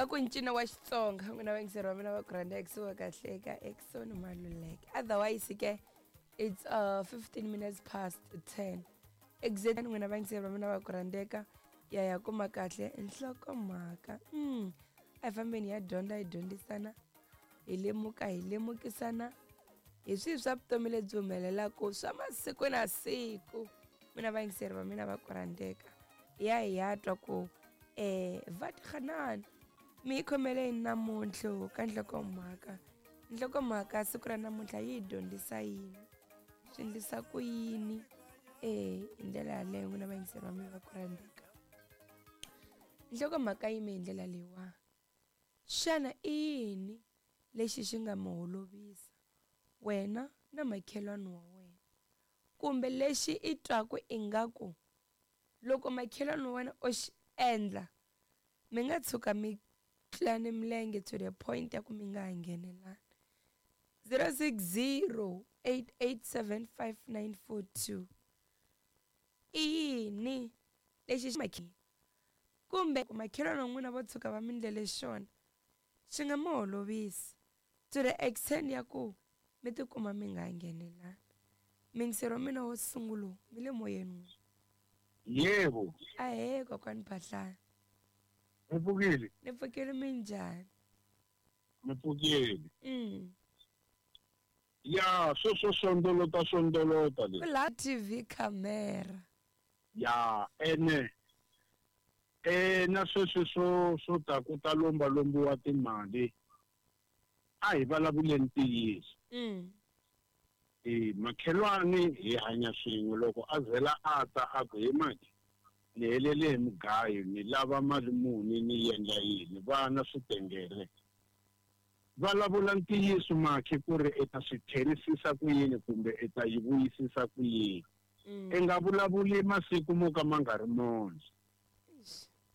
Va ku ncino wa Xitsonga n'wina vayingiseri va mina va ku rhandza ekusuhi kahle ka Exxon Maluleke. Otherwise ke it's 15 minutes past 10. Exactly n'wina vayingiseri va mina va ku rhandzeka ya ya kuma kahle nhlokomhaka. A hi fambeni hi ya dyondza hi dyondzisana hi lemuka hi lemukisana hi swihi swa vutomi lebyi humelelaka swa masiku na siku. N'wina vayingiseri va mina va ku rhandzeka ya hi ya twa ku va tirhanani mi hi khomele yini namuntlha ka nhlokomhaka. Nhlokomhaka siku ra namuntlha yi hi dyondzisa yini, swi endlisa ku yini hi ndlela yaleyo n'wina vayingiseri va mina va ku rhandzeka. Nhlokomhaka yime hi ndlela leyiwani. Xana i yini lexi xi nga mi holovisa wena na makhelwani wa wena, kumbe lexi i twaku ingaku loko makhelwani wa wena o xi endla mi nga tshuka mi tlulane milenge to the point ya ku mi nga ha nghenelani? 060 887 5942. I yini lexi xi kumbe makhelwani wa n'wina vo tshuka va mi ndlele xona xi nga mi holovisi to the extent ya ku mi tikuma mi nga nghenelani? Mingisero wa mina wo sungula mi le moyeni n'wina. Yebo. Ahee kokwani Phahlana. Ni pfukile. Ni pfukile, minjhani? Ni pfukile. Ya, sweswo swondolota swondolota leswi. La TV camera. Ya, ene na sweswi swo swo ta ku ta lomba lombiwa timali a hi vulavuleni ntiyiso. Makhelwani hi hanya swin'we, loko a zela a ta a ku he maki ni helele hi mugayo ni lava mali muni ni endla yini, vana swi tengele. Vulavula ntiyiso makhi ku ri i ta swi tlherisisa ku yini kumbe i ta yi vuyisisa ku yini. I nga vulavuli masiku mo ka ma nga ri mona.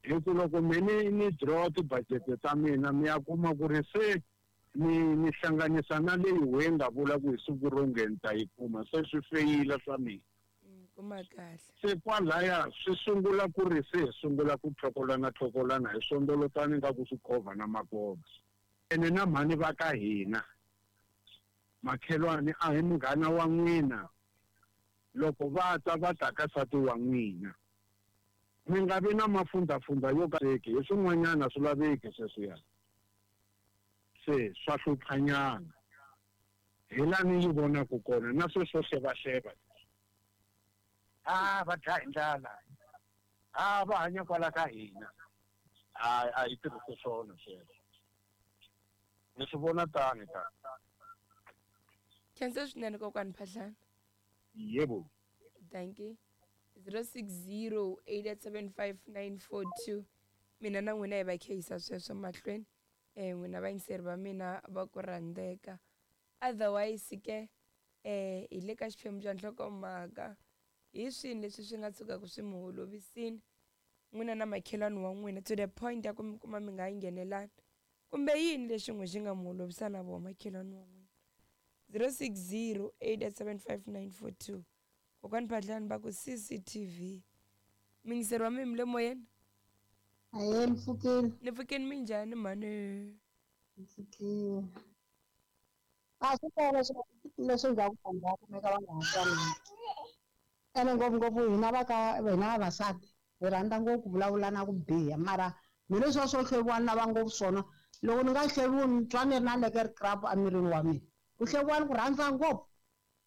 Hi ku loko me ni draw tibudget ta mina mi ya kuma ku ri se ni hlanganisa na leyi we nga vula ku hi siku ro nge ni ta yi kuma, se swi feyila swa mina. Kuma kahle. Se kwalaya swi sungula ku ri se hi sungula ku tlhokolana tlhokolana hi swondolotani nga ku swi khovha na makova. Ene na mhani va ka hina makhelwani a hi munghana wa n'wina, loko va ta va ta ka nsati wa n'wina mi nga vi na mafundhafundha yo ka hi swin'wanyana swi laveki sweswiya, se swa hluphanyana. Hi la ni yi vonaka kona na sweswo xevaxeva. Va dlaya hi ndlala, va hanya kwala ka hina. A hi tirhisi swona sweswo. Ni swi vona tani ta. Khensa swinene kokwani Phahlana. Yebo. Thank you. 060 875 942. Mina na n'wina hi va khehisa sweswo mahlweni. N'wina vayingiseri va mina va ku rhandzeka. Otherwise ke hi le ka xiphemu xa nhlokomhaka hi swini leswi swi nga tshukaka swi mi holovisini n'wina na makhelwani wa n'wina to the point ya ku mi kuma mi nga yi nghenelani, kumbe yini lexi n'we xi nga mi holovisa na vona makhelwani wa n'wina? 060 875 942. Kokwani Phahlani va ku CCTV. Mingiseri wa mina mi le moyeni? Ahee, ni pfukile. Ni pfukile, minjhani mhani? Ni pfukile. A swi tele leswi endlaku vanhu va kumeka va nga ha twanani. Ene ngopfungopfu hina va ka hina vavasati hi rhandza ngopfu ku vulavula na ku biha, mara mi leswiya swo hleviwa ni lava ngopfu swona. Loko ni nga hleviwi ni twa ni ri na lekere crap emirini wa mina. Ku hleviwa ni ku rhandza ngopfu.